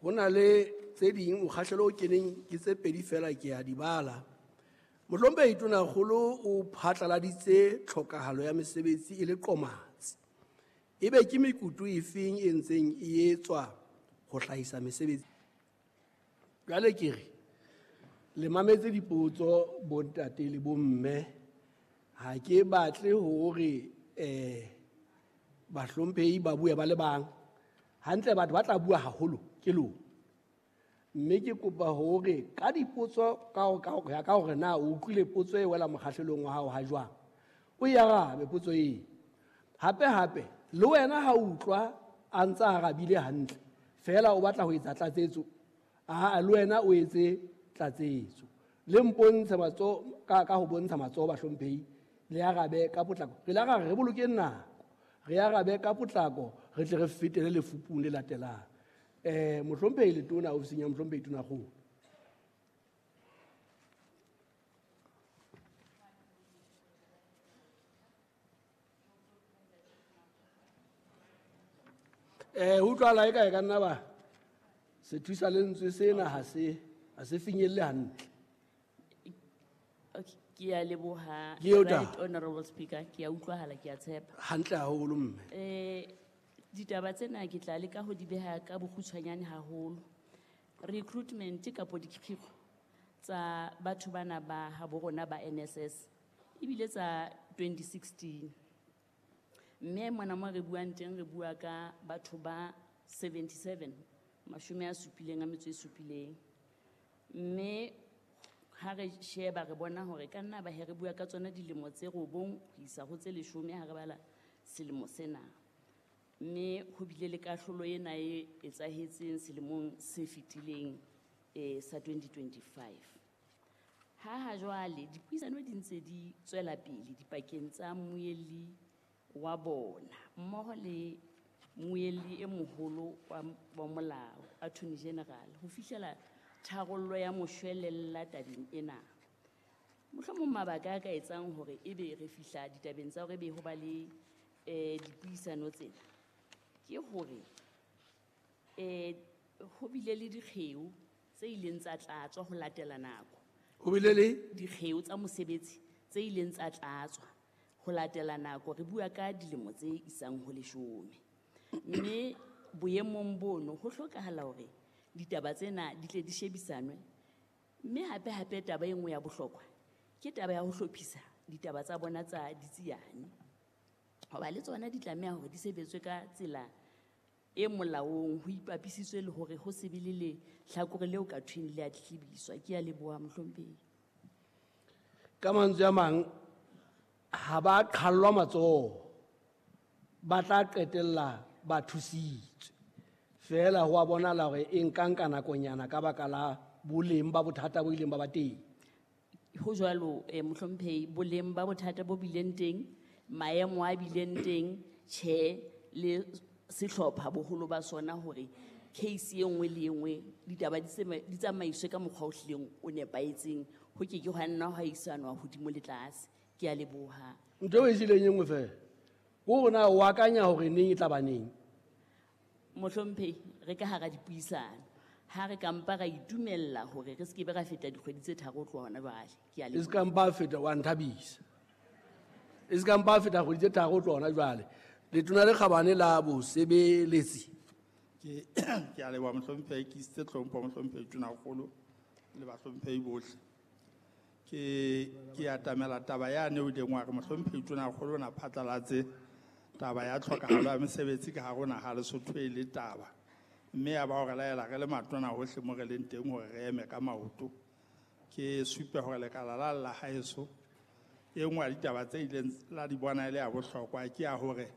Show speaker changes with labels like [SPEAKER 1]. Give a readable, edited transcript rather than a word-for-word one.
[SPEAKER 1] Ho na le tse ding mokgahlelo o keneng ke tse pedi fela ke a di bala. Mohlomphehi Tonakgolo o phatlaladitse tlhokahalo ya mesebetsi e le qomatsi. Ebe ke mekutu efeng e ntseng e etswa ho hlahisa mesebetsi? Jwale ke re le mametse dipotso bontate le bomme, ha ke batle hore bahlomphehi ba bue ba le bang. Hantle batho ba tla bua haholo ke lona. Mme ke kopa hore ka dipotso ka hore na o utlwile potso e wela mokgahlelong wa hao ha jwang, o e arabe potso eo. Hape hape le wena ha o utlwa a ntsa arabile hantle fela o batla ho etsa tlatsetso, a le wena o etse tlatsetso. Le mpontshe matsoho ka ho bontsha matsoho bahlomphehi, le arabe ka potlako. Re le arabe, re bolokeng nako, re arabe ka potlako, re tle re fetele lefupung le latelang. Mohlomphehi Letona, ofising ya Mohlomphehi Tonakgolo. Ho utlwahala eka e ka nna ba se thusa lentswe sena ha se finyelle hantle.
[SPEAKER 2] Okay, ke a leboha,
[SPEAKER 1] Ke eo
[SPEAKER 2] Right
[SPEAKER 1] taba.
[SPEAKER 2] Honorable Speaker, ke a utlwahala, ke a tshepa.
[SPEAKER 1] Hantle haholo mme.
[SPEAKER 2] Ditaba tsena ke tla leka ho di beha ka bokgutshwanyane haholo. Recruitment kapo dikgiro tsa batho bana ba habo rona ba NSS ebile tsa 2016. Mme mona mo re buang teng re bua ka batho ba 77, mashome a supileng a metso e supileng. Mme ha re sheba re bona hore ka nna ba he re bua ka tsona dilemo tse 9 ho isa ho tse 10 ha re bala selemo sena. Mme ho bile le kahlolo ena e etsahetseng selemong se fetileng, sa 2025. Ha jwale dipuisano di ntse di tswela pele dipakeng tsa mmuelli wa bona mmoho le mmuelli e moholo wa molao, Attorney General, ho fihlela tharollo ya moshwelella tabeng ena. Mohlomong mabaka a ka etsang hore ebe re fihla ditabeng tsa hore ebe ho ba le dipuisano tsena ke hore ho bile le dikgeo tse ileng tsa tlatswa ho latela nako.
[SPEAKER 1] Ho bile le
[SPEAKER 2] dikgeo tsa mosebetsi tse ileng tsa tlatswa ho latela nako, re bua ka dilemo tse isang ho 10. Mme boemong bono ho hlokahala hore ditaba tsena di tle di shebisanwe. Mme hape hape taba e nngwe ya bohlokwa ke taba ya ho hlophisa ditaba tsa bona tsa ditsiane. Hoba le tsona di tlameha hore di sebetswe ka tsela e molaong, ho ipapisitswe le hore ho se be le lehlakore leo ka thweng le a tletlebiswa. Ke a leboha mohlomphehi.
[SPEAKER 1] Ka mantswe a mang, ha ba qhallwa matsoho, ba tla qetella ba thusitswe. Feela ho a bonahala hore e nka nka nakonyana ka baka la boleng ba bothata bo ileng ba ba teng.
[SPEAKER 2] Ho jwalo, mohlomphehi, boleng ba bothata bo bileng teng, maemo a bileng teng, tjhe le sehlopha boholo ba sona hore case e nngwe le e nngwe ditaba di tsamaiswe ka mokgwa o hlileng o nepahetseng, ho ke ke hwa nna hwa isanwa hodimo le tlase. Ke a leboha.
[SPEAKER 1] Ntho eo e sileng e nngwe fela, ke hore na o akanya hore neng e tla ba neng?
[SPEAKER 2] Mohlomphehi, re ka hara dipuisano. Ha re ka mpa ra itumella hore re se ke be ra feta dikgwedi tse 3 ho tloha hona jwale. Ke a
[SPEAKER 1] E se
[SPEAKER 2] leboha.
[SPEAKER 1] ka mpa feta, wa nthabisa. E se ka mpa feta kgwedi tse 3 ho tloha hona jwale. Letona le kgabane la bosebeletsi.
[SPEAKER 3] Ke a leboha mohlomphehi, ke isitse tlhompho mohlomphehi Tonakgolo le bahlomphehi bohle. Ke atamela taba yane o ileng wa re mohlomphehi Tonakgolo o na phatlalatse taba ya tlhokahalo ya mesebetsi ka hare ho naha Lesotho e le taba. Mme ya ba hore laela re le matona hohle mo re leng teng hore re eme ka maoto. Ke supe hore lekala la la haeso, e nngwe ya ditaba tse ileng la di bona e le ya bohlokwa ke ya hore